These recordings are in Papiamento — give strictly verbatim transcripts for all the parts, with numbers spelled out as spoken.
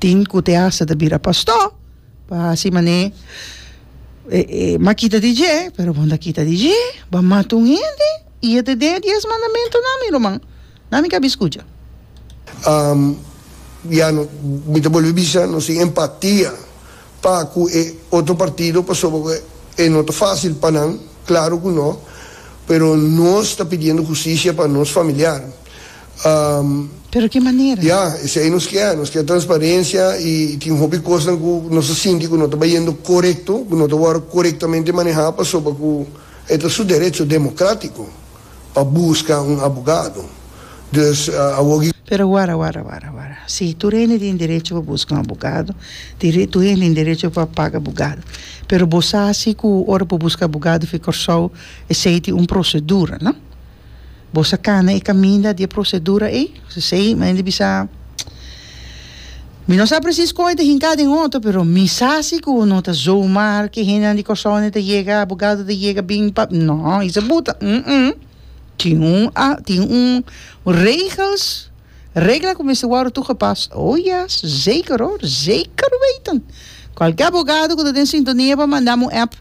Tin ku te hasta ta bira pastor pa hasi manera e, e, m'a kita di dje, pero bo n' ta kita di dje, b'a mata un hende i e ta den dies mandamentunan, mi ruman. Na mi kabi skucha. Um, ya no, mi ta bolbe bisa, nos tin empatia pa ku e otro partido, pasobra e no ta fásil pa nan, klaro ku no, pero nos ta pidiendo hustisia pa nos familiar. Um, Pero ki manera? Ya, esei nos ke, nos ke transparensia i tin hopi kos ku nos ta sinti ku no ta bayendo korekto, ku no ta korektamente manehá, pasobra ku e ta su derecho demokrátiko pa buska un abogado. Dus uh, Pero warda, warda, warda, warda. Si, tur hende tin derecho pa buska un abogado, tur hende tin derecho pa paga abogado. Pero bo sa ku ora pa buska abogado for di Kòrsou, esei tin un prosedura, no? Bo a kana e kaminda di prosedura ei, sei, ma ainda bisa. Mi no sa presis kon ta hinká den otro, pero mi sa si ku no ta zomaar ku hende di Kòrsou ta yega, abogado ta yega bin pa, no, esei buta, mm -mm. Tin un, ah, tin un regels, regla ku mester worden toegepast. Oh yes, zeker hoor, zeker weten. Kualke abogado ku tin sintonia pa manda un app.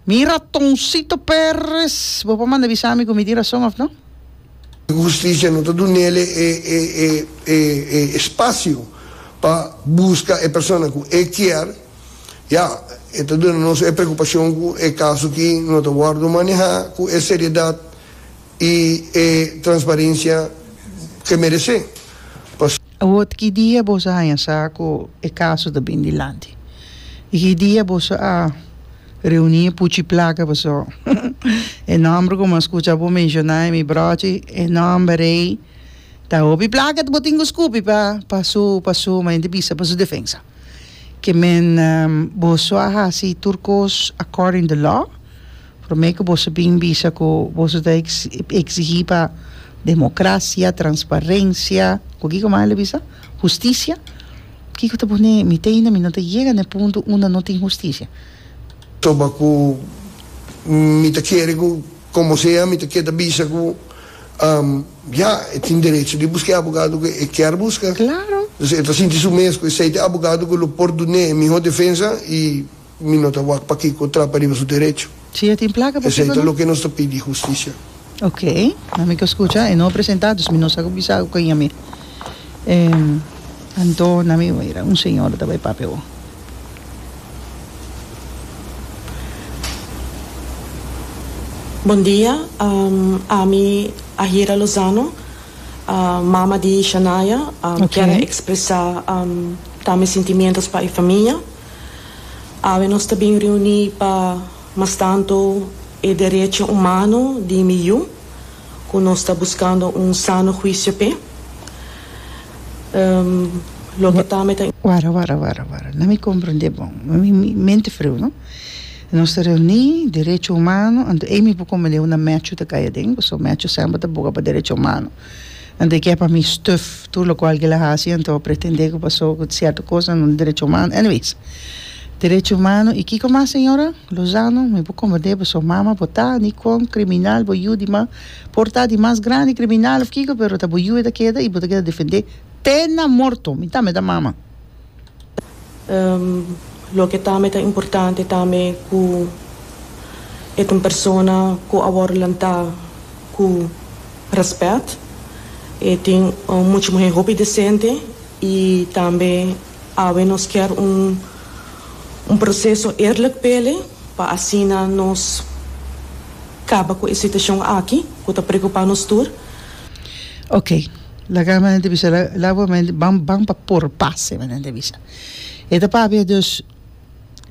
Mi ratoncito Perez, bo por manda bisa mi ku mi tin rason òf no? Hustisia no ta dun'é e, e, e, e, e espasio pa buska e persona ku e ke, ya, anto nos e preokupashon ku e kaso ku no ta wòrdu manehá ku e seriedat i e transparensia ku e meresé. Pas Awor, ki dia boso a haña sa ku e kaso ta bin dilanti? I ki dia boso a reuní puchi plaka boso? E nòmber ku m'a skucha bo menshoná mi brochi, e nòmber ei ta hopi plaka bo tin ku skupi pa pa su pa su ma bisa pa su defensa. Ke men um, boso a hasi tur kos according the law. Promé ku boso bin bisa ku boso ta eksigí pa demokrasia, transparensia, ku kiko mas el a bisa? Hustisia. Kiko ta pone mi teina mi no ta yega na punto unda no tin hustisia. Toba ku mi ta kere ku komo sea mi ta keda bisa ku um, ya, tin derecho di buska abogado ku e ke buska. Klaro. Dus e ta sinti su mes ku esei ta abogado ku lo por dun'é mihó defensa i mi no ta wak pakiko trapa riba su derecho. Si tin plaka pa Esei ta loke nos ta pidi, hustisia. Ok, na mi ke skucha, e no presentá, dus mi no sa bisa ku mi. Eh, anto, na mi mira, un señora tambe papia. Bon dia, um, ami Ahira Lozano, uh, mama di Shania, um, Ok. ke ekspresá um, tambe sentimentu pa e famia. Awe nos ta bin reuní pa mas tantu e derecho humano di mi yu, ku nos ta buskando un sano huisio p'e. Um, loke tambe ta Warda, warda, warda, warda. No mi komprondé bon. Mi, mi mente friu, no? Nos ta reuní, derecho humano, anto ei mi por komprondé unda Matthew ta kai aden, pasobra Matthew semper ta boga pa derecho humano. Anto e ke pa mi stuf tur loke el a hasi, anto pretendé ku pasó ku sierto kos no derecho humano. Anyways, derecho humano, i kiko mas, señora? Lozano, mi por komprondé, pasobra mama bo ta, ni kon kriminal, bo yu di mas, por ta di mas grandi kriminal òf kiko, pero ta bo yu ta keda i bo ta keda defendé te na morto, mi tambe ta mama. Um, loke tambe ta importante tambe ku e un persona ku a wòrdu lantá ku rèspèt i tin un, mucha muhé hopi desente i tambe awe nos ke un un proseso eerlijk p'e pa asina nos kaba ku e situashon aki ku ta preokupá nos tur. Ok, laga mi bisa, la ban ban pa por pase, mi bisa. E ta papia dus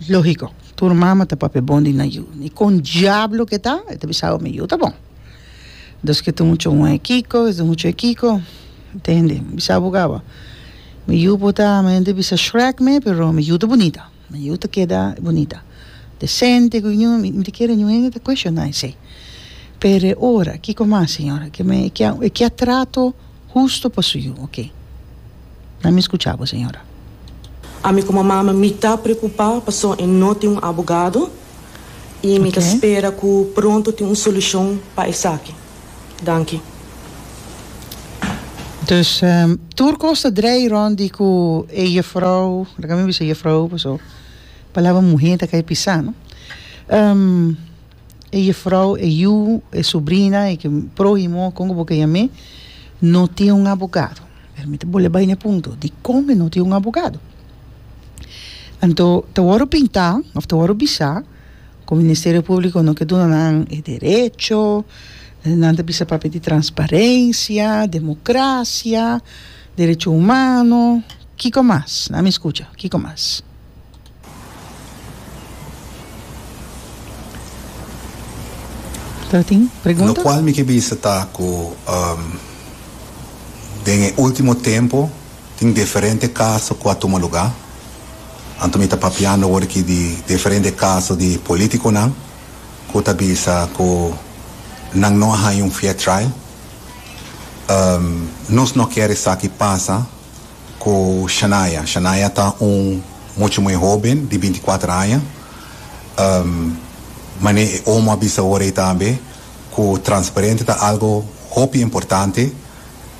lógiko. Tur mama ta papia bon di nan yu. Ni kon diablo ku ta, e ta bisa mi yu ta bon. Dus ku ta muchu un kiko, ta muchu kiko, entendé? Bisa bugaba. Mi yu por ta, mi bisa Shrek me, pero mi yu ta bunita. Mi yu ta keda bunita. Desente, ku mi mi kere niun ta kuestioná esei. Pero ora, kiko mas, señora? Ku mi ke ke trato hustu pa su yu, ok? No mi skucha, señora. Ami komo mama mi ta preokupá pasobra e no tin un abogado i mi ta Ok. spera ku pronto tin un solushon pa esaki. Danki. Dus um, tur kos ta drei rond di ku e juffrouw, laga mi bisa juffrouw, paso palabra muhé ta kai pisá, no? Um, e juffrouw, e yu, e sobrina, e próhimo, kon bo ke yam'é, no tin un abogado. Pero mi ta bolbe bai na punto, dikon no tin un abogado? Anto, ta wòrdu pintá, òf ta wòrdu bisá, ku Ministerio Públiko no ke duna nan e derecho, nan ta bisa papia di transparensia, demokrasia, derecho humano, kiko mas? Laga mi skucha, kiko mas? Tin pregunta? Lokual mi ke bisa ta ku den e último tempu tin diferente kaso ku a tuma lugá. Anto mi ta papiando awor aki di diferente kaso di polítikonan ku ta bisa ku nan no a haña un fair trial. Nos no kier esaki pasa ku Shanaya. Shanaya ta un mucha muhé hóben di binti kuater aña. Mane e omo a bisa awor ei tambe ku transparente ta algo hopi importante.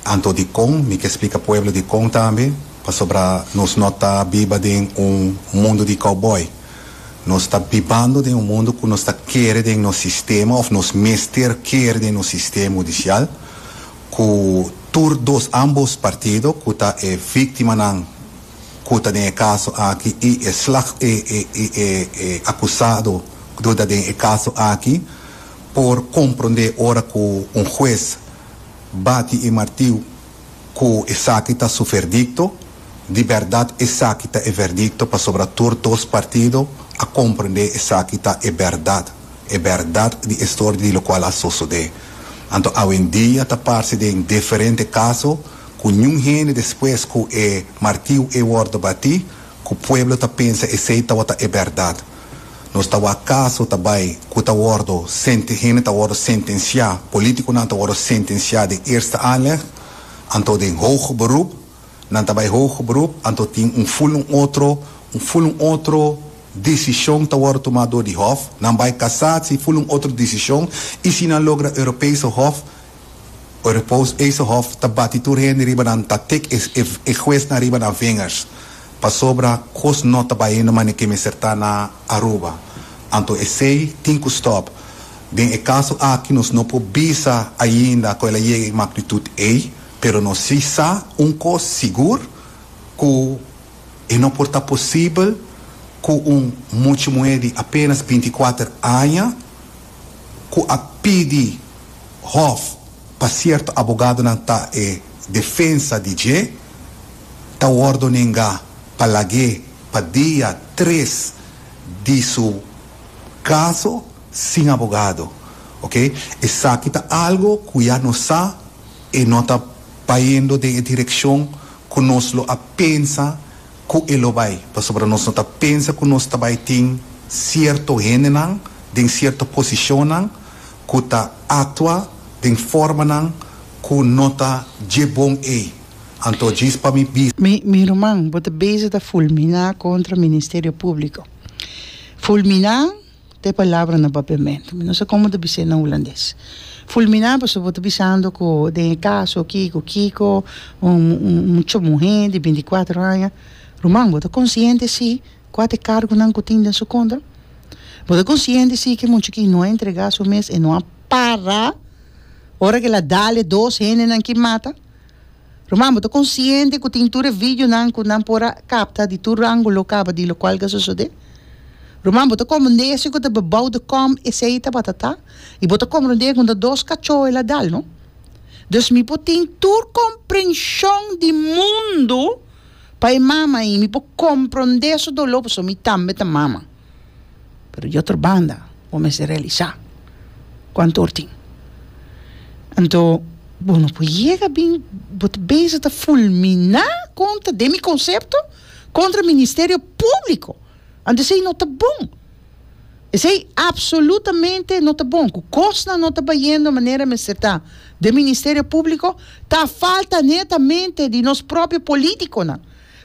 Anto dikon? Mi ke splika pueblo dikon tambe, pasobra nos no ta biba den un mundu di cowboy. Nos ta bibando den un mundu ku nos ta kere den nos sistema òf nos mester kere den nos sistema hudisial ku tur dos ambos partido ku ta e víktimanan ku ta den e kaso aki i e slag e e e e akusado ku ta den e kaso aki por komprondé ora ku un hues bati e martiu ku esaki ta su verdikto. Di bèrdat esaki ta e verdikto pasobra tur dos partido a komprondé esaki ta e bèrdat, e bèrdat di e storia di lokual a sosodé. Anto awendia ta parse den diferente kaso ku niun hende despues ku e martiu e wòrdu batí ku pueblo ta pensa esei tabata e bèrdat. Nos ta wak kaso ta bai ku ta wòrdu sente hende ta wòrdu sentensiá, polítikonan ta wòrdu sentensiá den eerste aanleg, anto den hoger beroep, nan ta bai hoger beroep, anto tin un ful un otro, un ful un otro desishon ta wòrdu tumá dor di hof, nan bai kasatsie, ful un otro desishon, i si nan logra Europese Hof, Europese Hof ta bati tur hende riba nan, ta tik e e huesnan riba nan vingers. Pasobra kos no ta bayendo manera ke mester ta na Aruba. Anto esey tin ku stop. Den e kaso aki nos no por bisa ainda ku el a yega e magnitud ey, pero nos si sa un kos sigur ku e no por ta posibel ku un mucha muher di apenas binti kuater aña ku a pidi hof pa sierto abogadonan ta e defensa di dje, ta wòrdu nengá pa lag'é pa dia tres di su kaso sin abogado. Ok, esaki ta algo ku ya nos sa e no ta bayendo den e direkshon ku nos lo a pensa ku e lo bai, pasobra nos no ta pensa ku nos ta bai tin sierto hendenan den sierto posishonnan ku ta aktua den formanan ku no ta dje bon ei. Anto djis pa mi bisa. Mi mi ruman, bo ta bezig ta fulminá kontra Ministerio Públiko. Fulminá ta e palabra na papiamentu. Mi no sa kon bo ta bis'é na hulandes. Fulminá pasobra bo ta bisando ku den e kaso kiko kiko un un mucha muhé di binti kuater aña. Ruman, bo ta konsiente si kua ta e kargonan ku tin den su kontra? Bo ta konsiente si ku e mucha aki no a entregá su mes, e no a para ora ku el a dal e dos hendenan ki mata? Ruman, bo ta konsiente ku tin tur e videonan ku nan por a kapta di tur ángulo kaba di lokual ku a sosodé? Ruman, bo ta komprendé si ku ta bebouw de kom esei tabata ta? I bo ta komprendé ku ta dos kachó el a dal, no? Dus mi por tin tur komprenshon di mundu pa e mama i mi por komprendé su doló pasobra mi tambe ta mama. Pero di otro banda bo mester realisá kuantu or tin. Anto bo no por yega bin bo ta bezig ta fulminá kontra, den mi konsepto, kontra Ministerio Públiko. Anto esei no ta bon. Esei absolutamente no ta bon. Ku kosnan no ta bayendo manera mester ta den Ministerio Públiko ta falta netamente di nos propio polítikonan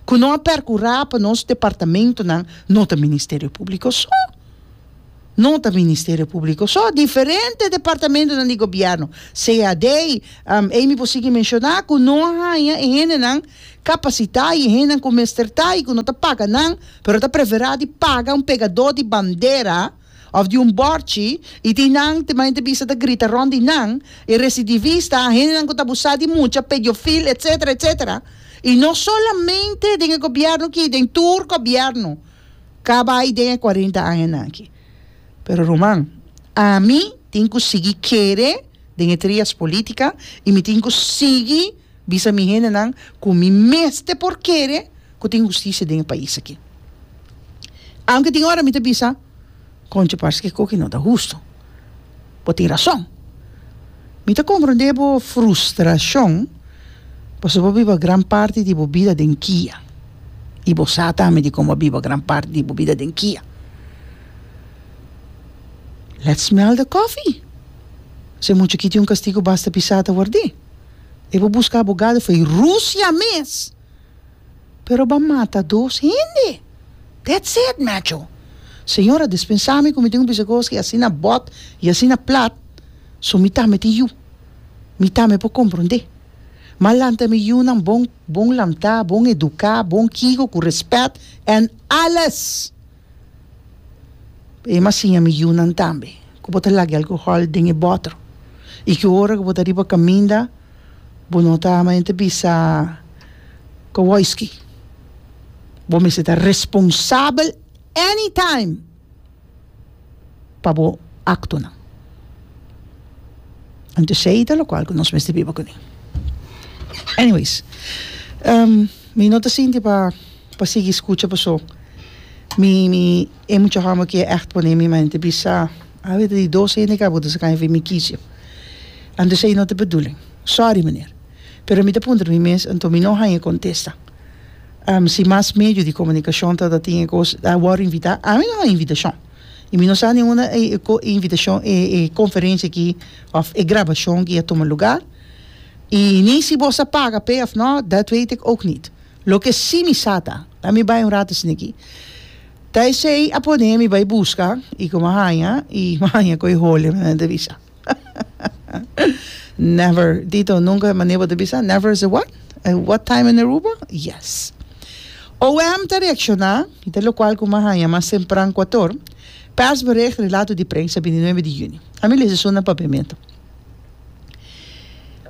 ku no a perkurá pa nos departamentonan no ta Ministerio Públiko so. No ta Ministerio Públiko so, diferente departamentonan di gobièrnu, C A D, um, ei mi por sigui menshoná ku no a haña e hendenan kapasitá i e hendenan ku mester ta i ku no ta paga nan, pero ta preferá di paga un pegadó di bandera òf di un bòrchi i tin nan te ta bisa ta grita rònt di nan e residivista, hendenan ku ta abusá di mucha, pedofil, et cetera et cetera. I no solamente den gobièrnu aki, den tur gobièrnu ku a bai den kuarenta aña aki. Pero, ruman, ami tin ku sigui kere den trias politica i mi tin ku sigui bisa mi hendenan ku mi mester por kere ku tin hustisia den e pais aki. Aunke tin ora mi ta bisa, koncho, parse ku no ta hustu. Bo tin rason. Mi ta komprondé bo frustrashon, pasobra bo a biba gran parti di bo bida den KIA. I bo sa tambe di kon a biba gran parti di bo bida den KIA. Let's smell the coffee. Si mucha aki tin un kastigu basta pisá ta ward'é. E por buska abogado for di Rusia mes. Pero b'a mata dos hende. That's it, macho. Señora, dispensá mi ku mi tin ku bisa asina bòt i asina plat. So mi tambe tin yu. Mi tambe por komprondé. M'a lanta mi yunan bon, bon lantá, bon eduká, bon kiko, ku rèspèt en alles. E m'a siña mi yunan tambe. Ku bo ta laga alkohòl den e bòter. I ku ora ku bo ta riba kaminda, bo no ta bisa ku whisky. Bo mester ta responsabel anytime pa bo aktonan. Anto esei ta lokual ku nos mester biba kuné. Anyways, um, mi no ta sinti pa pa sigui skucha, paso. Mi mi e mucha hòmber ku echt pone mi mente bisa. A weet die dos hende ka bo kan even mi kiezen. Anto esei no ta bedoeling. Sorry, meneer. Pero mi ta puntra mi mes, anto mi no haña kontesta. Um, si mas medio di komunikashon ta dat tin kos, a wòrdu invitá, ami no haña invitashon. I mi no sa ningun e, e, invitashon, e, e konferensia aki, òf e grabashon ku a tuma lugá. I ni si bo a paga p'e òf no, dat weet ik ook niet. Loke si mi sa ta, mi bai un ratu aki. Ta esei a pone mi bai buska i ku m'a haña i m'a haña ko'i hole mi bisa. Never, dito nunca manera di bisa, never is a what? A what time in Aruba? Yes. O M ta reakshoná, i ta lokual ku m'a haña mas tempran kuater, persbericht relato di prensa bintinuebe di yüni. Ami lesa na papiamentu.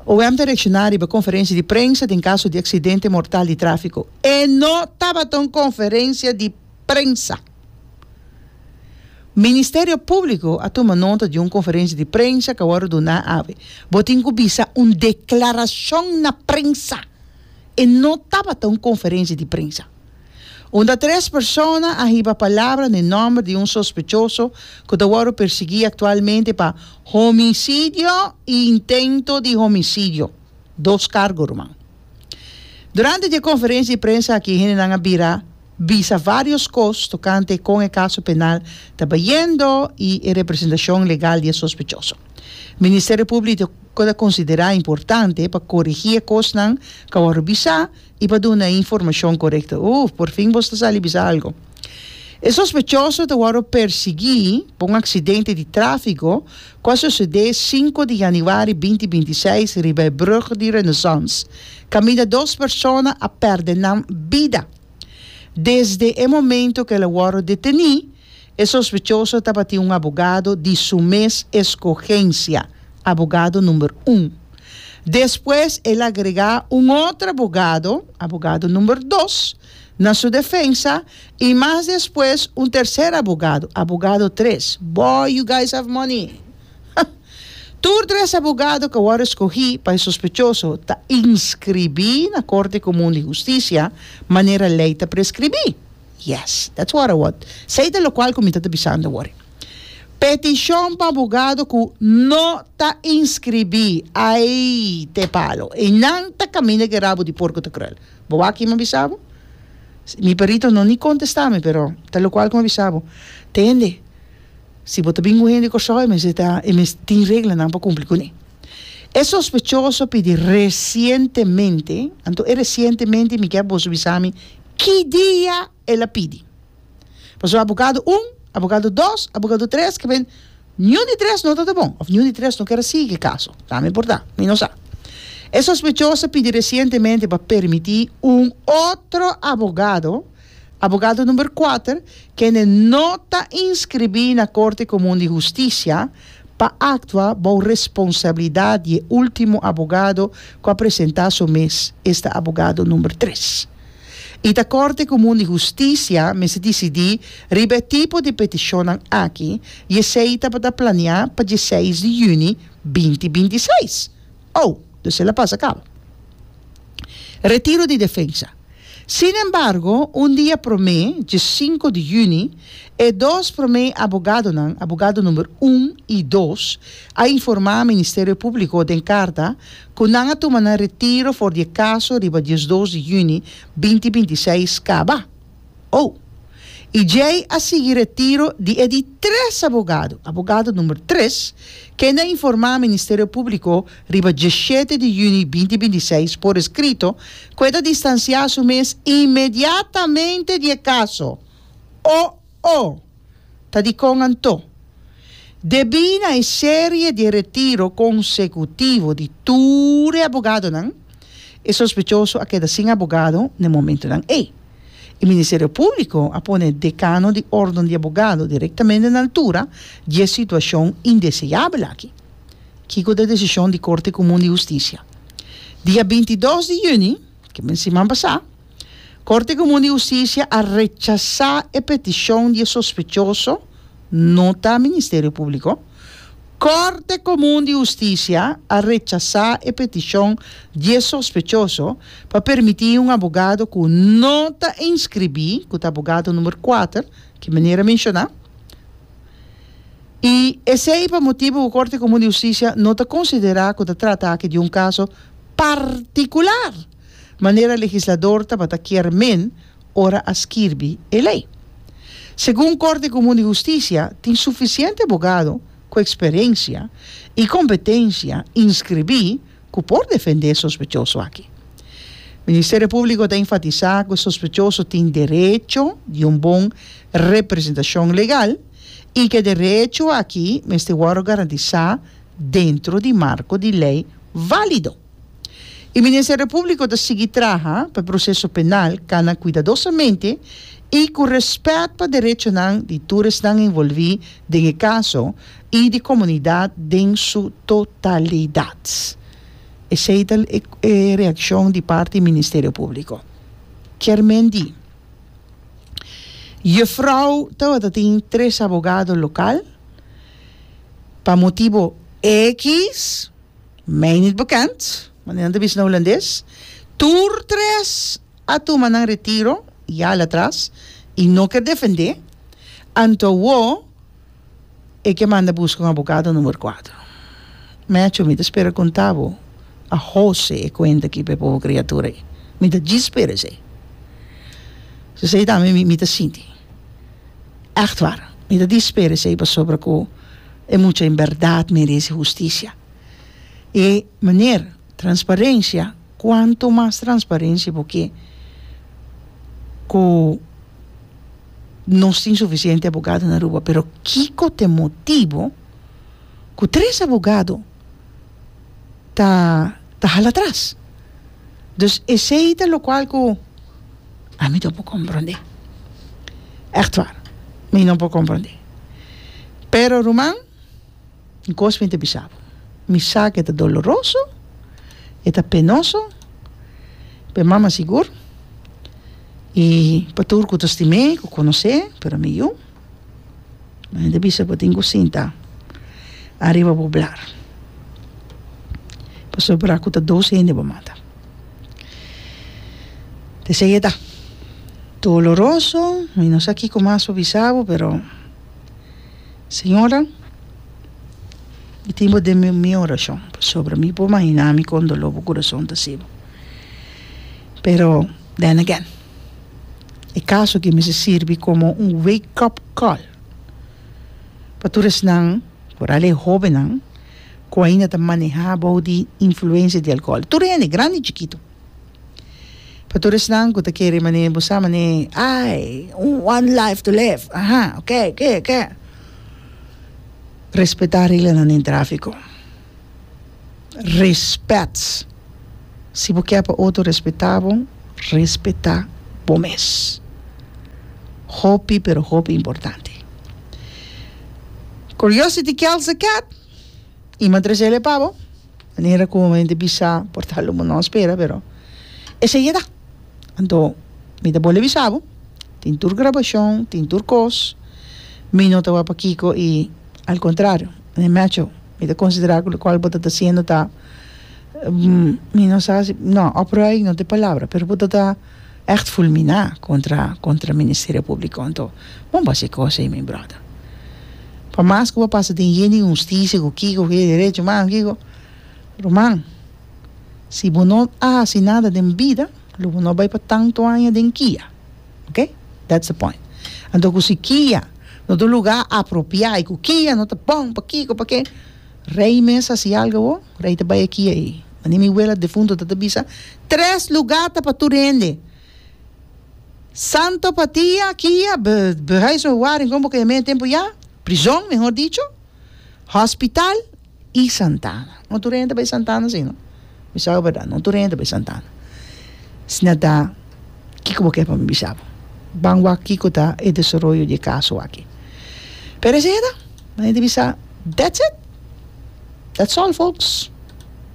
O M ta reakshoná riba konferensia di prensa den kaso di aksidente mortal di tráfiko. E no tabata un konferensia di prensa. Ministerio Públiko a tuma nota di un konferensia di prensa ku a wòrdu duná awe. Bo tin ku bisa un deklarashon na prensa. E no tabata un konferensia di prensa. Unda tres persona a hiba palabra den nòmber di un sospechoso ku ta wòrdu persiguí aktualmente pa homisidio i intento di homisidio. Dos kargo, ruman. Durante e konferensia di prensa aki, nan a bira bisa vários kos tokante kon e kaso penal ta bayendo i e representashon legal di sospechoso. Ministerio Públiko ta konsiderá importante pa korigí kosnan ku a bisa i pa duna informashon korekto. Uh, por fin bo ta sali bisa algu. E sospechoso ta wòrdu persiguí pa un aksidente di tráfiko ku a sosodé sinku di yanüari dos mil bintiseis riba brùg di Renaissance. Kaminda dos persona a pèrdè nan bida. Desde e momento ku el a wòrdu detené, e sospechoso tabatin un abogado di su mes eskohensia, abogado number un. Despues el a agregá un otro abogado, abogado number dos, na su defensa i mas despues un terser abogado, abogado tres. Boy, you guys have money. Tur tres abogado ku a skohe pa e sospechoso ta inskribí na Korte Komun di Hustisia, manera lei ta preskribí. Yes, that's what I want. Esei ta lokual ku mi ta bisando awor. Petishon pa abogado ku no ta inskribí. Ai, te palo. I nan ta kaminda ku rabo di porko ta krùl. Bo aki mi bisa bo? Mi perito no ni kontestá mi, pero ta lokual ku mi bisa bo. Tende. Si bo ta bin hende Kòrsou, mas ta e mes tin reglanan pa kumpli kuné. E sospechoso a pidi resientemente, anto e resientemente mi ke boso bisa mi, ki dia el a pidi? Paso abogado un, Abogado dos, abogado tres, ke men niun di tres no ta bon, òf niun di tres no ke sigui e kaso. Tambe por ta, mi no sa. E sospechoso a pidi resientemente pa permití un otro abogado, abogado number kuater, kende no ta inskribí na Korte Komun di Hustisia, pa aktua bou responsabilidat di e último abogado ku a presentá su mes, esta abogado number tres. I ta Korte Komun di Hustisia mester disidí riba e tipo di petishonnan aki i esei tabata planiá pa diesseis di yüni binti binti seis. Oh, dus el a pasa kaba. Retiro di defensa. Sin embargo, un dia promé, diesinku di yüni, e dos promé abogadonan, abogado number un i dos, a informá Ministerio Públiko den karta ku nan a tuma nan retiro for di e kaso riba diesdos di yüni binti binti seis kaba. Oh! I djei a sigui retiro di e di tres abogado, abogado number tres, kende a informá Ministerio Públiko riba diesshete di yüni binti binti seis por eskrito ku e ta distansiá su mes inmediatamente di e kaso. Oh oh! Ta dikon anto? Debí na e serie di retiro konsekutivo di tur e abogadonan, e sospechoso a keda sin abogado n'e momentonan ei. E Ministerio Públiko a pone dekano di Órden di Abogado direktamente na altura di e situashon indeseabel aki. Kiko ta e desishon di Korte Komun di Hustisia? Dia binti dos di yüni, ke men siman pasá, Korte Komun di Hustisia a rechasá e petishon di e sospechoso, no ta Ministerio Públiko, Korte Komun di Hustisia a rechasá e petishon di e sospechoso pa permití un abogado ku no ta inskribí, ku ta abogado number kuater, ki meneer a menshoná, i esei pa motibu ku Korte Komun di Hustisia no ta konsiderá ku ta trata aki di un kaso partikular, manera legislador tabata kier men ora a skirbi e lei. Segun Korte Komun di Hustisia, tin sufisiente abogado ku eksperensia i kompetensia inskribí ku por defendé e sospechoso aki. Ministerio Públiko ta enfatisá ku e sospechoso tin derecho di un bon representashon legal i ku e derecho aki mester wòrdu garantisá dentro di marko di lei válido. E Ministerio Públiko ta sigui traha pa e proseso penal kana kuidadosamente i ku rèspèt pa derechonan di tur esnan envolví den e kaso i di komunidat den su totalidat. Esei ta e reakshon di parti Ministerio Públiko. Kier men di, Jufrou tabata tin tres abogado lokal, pa motibo X, mij niet bekend, manera nan ta bisa na hulandes, tur tres a tuma nan retiro ya al atras i no ker defendé, anto awo e ke manda buska un abogado number kuater. Mecho, mi ta spera konta bo a hose e kuenta aki pa e pobo kriatura ei. Mi ta djis spera esei. Esei tambe mi ta sinti. Ègt waar, mi ta djis spera esei pasobra ku e mucha en bèrdat merese hustisia. E meneer, transparensia, kuantu mas transparensia bo ke ku nos tin sufisiente abogado na Aruba, pero kiko ta e motibu ku tres abogado ta ta hala atras? Dus esei ta lokual ku ami no por komprondé. Ègt waar, mi no por komprondé. Pero ruman, un kos mi ta bisa bo, mi sa ku e ta doloroso, e ta penoso, pa e mama sigur, i pa tur ku ta stim'é, ku konos'é, pero mi yu, mi ta bisa bo tin ku sinta ariba bo blar, pasobra ku ta dos hende bo mata. T'esei e ta doloroso, mi no sa kiko mas pa bisa bo, pero señora, mi tin bo den mi orashon, pasobra mi por mahina mi kon doló bo kurason ta hasi bo. Pero then again, e kaso aki mester sirbi komo un wake up call pa tur esnan, foral e hóbennan, ku ainda ta manehá bou di influensia di alkohòl. Tur hende, grandi i chikitu. Pa tur esnan ku ta kere mane bo sa mane ai one life to live aha ok ok ok respetá reglanan den tráfiko respet si bo ke pa otro respetá bo respetá bo mes hopi pero hopi importante. Curiosity kills the cat i mi a trese pa bo manera ku mi ta bisa por ta lo bo no spera pero esei e ta. Anto mi ta bolbe bisa bo tin tur grabashon tin tur kos mi no ta wak pakiko i al kontrario mi macho mi ta konsiderá ku lokual bo ta hasiendo ta mi no sa si no opruiing no ta e palabra pero bo ta ta ègt fulminá kontra kontra Ministerio Públiko anto bon bo hasi e kos ei mi bròder pa mas ku bo pasa den yen di hustisia ku kiko ku derecho humano kiko ruman si bo no a hasi nada den bida lo bo no bai pa tantu aña den kia ok that's the point anto ku si kia no ta un lugá apropiá i ku kia no ta bon pa kiko pa ke rei mes hasi algu awor rei ta bai e kia ei mane mi wela defunto ta ta bisa tres lugá ta pa tur hende Santo Patia kia behuisbewaring kon bo ke yam'é tempu ya prizon mehor dicho hospital i Santana no tur hende ta bai Santana si no mi sa bo berdad no tur hende ta bai Santana Asina ta kiko bo ke pa mi bisa bo ban wak kiko ta e desaroyo di e kaso aki pero esei ta mi ta bisa that's it that's all folks.